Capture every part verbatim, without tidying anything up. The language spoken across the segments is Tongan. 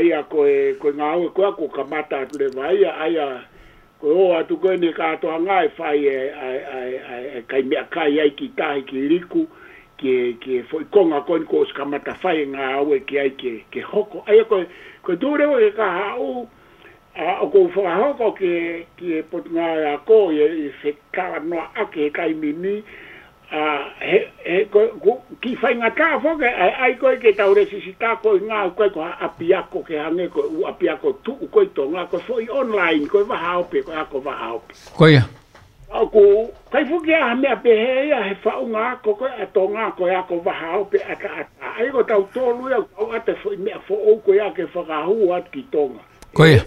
ia ko e, ko e ngāue ko ē kuo kamata atu leva ia, ʻa ia ko e ō atu ko eni kātoanga e fai e, ʻa e, ʻa e, ʻa e, ʻa e kai meʻakai ai ki tahi ki Liku, ki he, ki he foʻi konga ko eni kuo ʻosi kamata fai e ngāue ki ai ke, ke hoko. ʻA ia ko e, ko e tuʻu leva ke ka haʻu, ʻa, ʻoku ou fakahoko ki he, ki he Potungāue Ako, ʻi he, ʻi he fetalanoaʻaki he taimi ni, ʻa, he, he, ko, ko, kiʻi faingataʻa foki, ʻa, ʻa ia ko ē ke tau lēsisita ko e ngāue ko ē ko ha ʻapiako ke hangē ko e ʻū ʻapiako tuʻu ko ē ʻi Tonga, ko e foʻi online, ko e vahaope, ko e ako vahaope. Ko ia. ʻOku ʻikai foki ha meʻa pehē ia he faʻunga ako ko ē ʻa Tonga, ko e ako vahaope ʻataʻatā. ʻA ia ko tautolu ia, ʻoku ʻi ai e foʻi meʻa foʻou ko ia ke fakahū atu ki Tonga. Ko ia.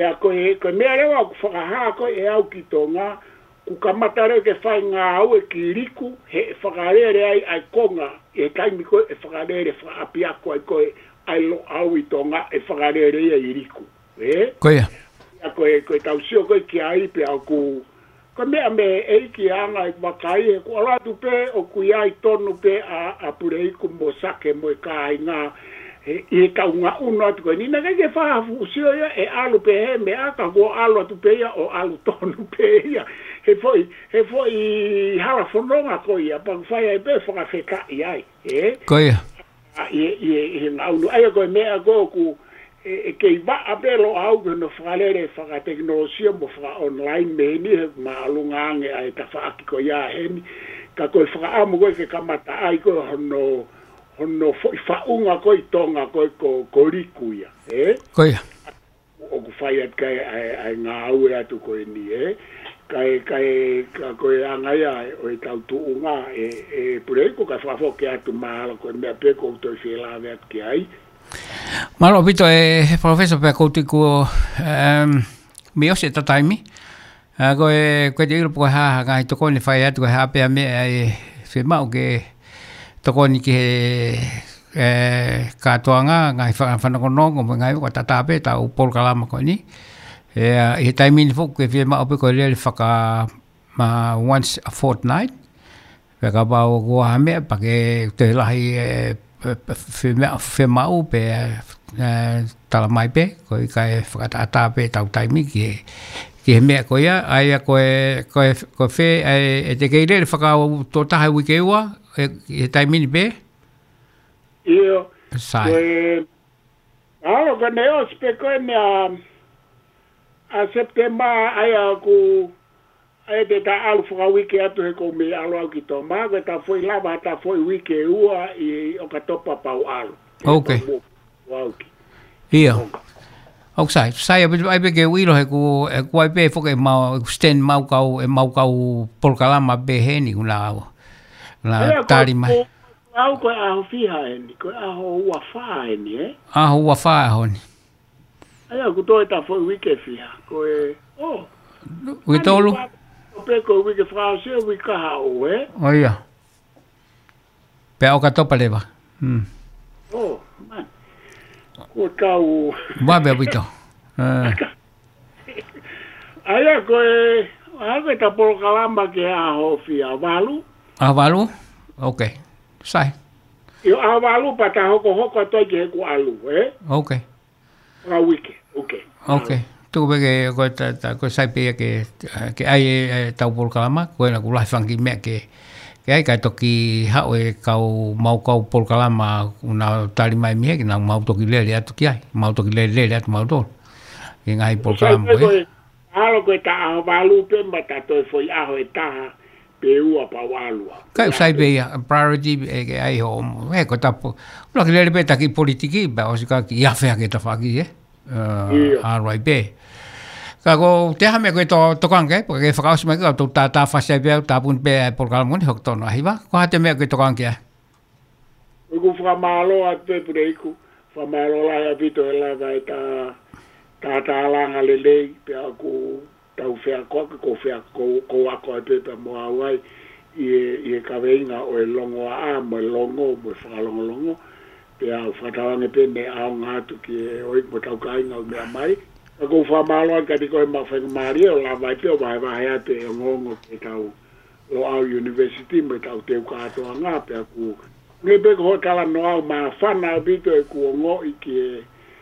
Ia ko e, ko e meʻa leva ʻoku fakahā ko ē ʻe au ki Tonga, kuo kamata leva ke fai ngāue ki Liku, he ʻe fakalele ai ʻa e konga, ʻi he taimi ko ē ʻe fakalele fakaʻapiako ai ko ē ʻa e Loʻau ʻi Tonga, ʻe fakalele ia ʻi Liku. Ē? Ko ia. Ia ko e, ko e tau sio ko ē ki ai pea ʻoku, ko e meʻa mei he ʻEiki ʻa e anga e vakai, he kuo ʻalu atu pē ʻoku ʻi ai tonu pē ʻa, ʻa Puleiku mo Sake mo e kāinga, he, ʻi he tau ngaʻunu atu ko eni, naʻe ʻikai ke fakafuʻu sio ia ʻe ʻalu pē he meʻa ka kuo ʻalu atu pē ia ʻo ʻalu tonu pē ia. He foʻi, he foʻi hala fononga ko ia, pea ʻoku fai ai pē fakafetaʻi ai, ē? Ko ia. ʻA, ʻi, ʻi, ʻi he ngaʻunu. ʻA ia ko e meʻa ko ē ʻoku, ʻe, ʻe kei vaʻa pē Loʻau ki hono fakalele fakatekinolosia mo faka-online mei heni he māʻolunga ange ʻa e tafaʻaki ko ia heni. Ka ko e fakaʻamu ko ē ke kamata ai ko ē hono, hono foʻi faʻunga ko ē ʻi Tonga ko ē ko, ko Liku ia, ē? Ko ia. ʻOku fai atu ki ai ʻa e, ʻa e ngāue atu ko eni, ē? Ka e, ka e, ka ko e anga ia ʻo e tau tuʻunga, ē, ē, Puleiku, ka fakafoki atu, mahalo ko e meʻa pē ʻoku ou toe fie lave atu ki ai. Mālō ʻaupito, ē, Professor, pea ʻoku ou tui kuo, em, mei ʻosi ʻeta taimi. ʻA, ko e, ko e te ʻilo pe ko e hā ha ngaahi tokoni ʻe fai atu, ko e hā pē ha meʻa ʻe fiemaʻu ke tokoni ki he, ē, kātoanga, ngaahi fa-, fanongonongo, mo e ngaahi ʻoku tatau pē ʻetau polokalama ko eni. Ē, ʻi he taimi ni foki ʻoku fiemaʻu pē ko e lele faka-, ma once a fortnight. Pea kapau ʻoku ʻi ai ha meʻa pea ke toe lahi, ē, pe, pe, fiemaʻu, fiemaʻu pē, ē, tala mai pē, ko e ʻikai fakatātā pē ʻetau taimi ki he, ki he meʻa ko ia, ʻa ia ko e, ko e, ko e fē, ē, ʻe te kei lele fakaʻotua taha uike ua, ē, ʻi he taimi ni pē? ʻIo. Sai. Ko e, ʻalu ka ne ʻosi pē ko eni ʻa, ʻa September, ʻa ia ʻoku ʻa ia te ta ʻalu fakauike atu he ʻoku ou mei ʻalu au ki Tonga, ko e ta foʻi lava, ta foʻi uike ua ʻi ʻOkatopa pea u ʻalu. Ok. Pea mo-, ʻo au ki. ʻIo. Tonga. ʻOku sai, sai ʻaupito ai pē ke u ʻilo he ʻoku, ʻoku ʻi ai pē foki ʻemau, ʻeku stand ʻemau kau, ʻemau kau polokalama pē heni ʻoku na, na ʻIo, ko, tali mai. Ko, au ko e ʻaho fiha eni, ko e ʻaho ua fā eni, ē? ʻAho ua fā ʻaho ni. ʻA ia, ʻoku toe ta foʻi uike fiha. Ko e, ʻo. Uike tolu? Pe ko e uike fakaʻosi, uike kahaʻu, ē? ʻO ia. Pea ʻOkatopa leva. Hmm. ʻO, man. Ko tau. Ua pea pito. Ē. ʻA ia, ko e, ʻa ia ko ʻeta polokalama ki he ʻaho fiha, valu? ʻAho valu? Ok. Sai. ʻIo, ʻaho valu pea ta hokohoko atu ai ki heʻeku ʻalu, ē? Ok. Ngaahi uike, ok. Ok. Tuku pē ke, ko e ta, ta, ko e sai pē ia ke, ke ʻai e, ʻetau polokalama, ko ena ʻoku lahi fanga kiʻi meʻa ke, ke ʻai kae toki haʻu e kau, ʻemau kau polokalama ʻoku na tali mai mei he, ke nau mau toki lele atu ki ai, mau toki lele, lele atu mautolu. Ki he ngaahi polokalama ko ē. Sai pē ko e, ʻalu ko ē ta ʻaho valu pē mo ta toe foʻi ʻaho ʻe taha, pe ua pea u ʻalu au. Kae sai pē ia, priority ē ke ʻai hoʻo, ē, ko e ta po-, ʻuluaki lele pē ʻeta kiʻi politiki, pea ʻosi ka kiʻi afe hake ʻeta faki, ē? Ē, ʻIo. ʻAlu ai pē. Ka ko e hā ha meʻa ʻoku ke to-, tokanga ki ai, pea ke fakaʻosi mai ka tau ta, ta fasi ai pē, ta puni pē ʻa e polokalama ni, hoko tonu ʻa hiva. Ko e hā ha meʻa ʻoku ke tokanga ki ai? ʻOku ou fakamālō atu pē Puleiku, fakamālō lahi ʻaupito he lava ʻeta, ta, ta langa lelei, pea ʻoku tau feakoaki, ko fea-, ko, ko ako ai pē pea mo au ai, ʻi he, ʻi he kaveinga ʻo e longoaʻa, mo e longo, mo e fakalongolongo, pea u fakatauange pē ne ʻaonga atu ki he ʻoiku mo tau kāinga ʻoku meʻa mai. Ka ʻoku ou fakamālō atu kiate koe maʻu faingamālie ʻo lava ai pē ʻo vahevahe atu e ongoongo ki heʻetau Loʻau University mo ʻetau teu kātoanga pea ʻoku ngali pē ko hoʻo talanoa ʻoku māfana ʻaupito ʻeku ongoʻi ki he,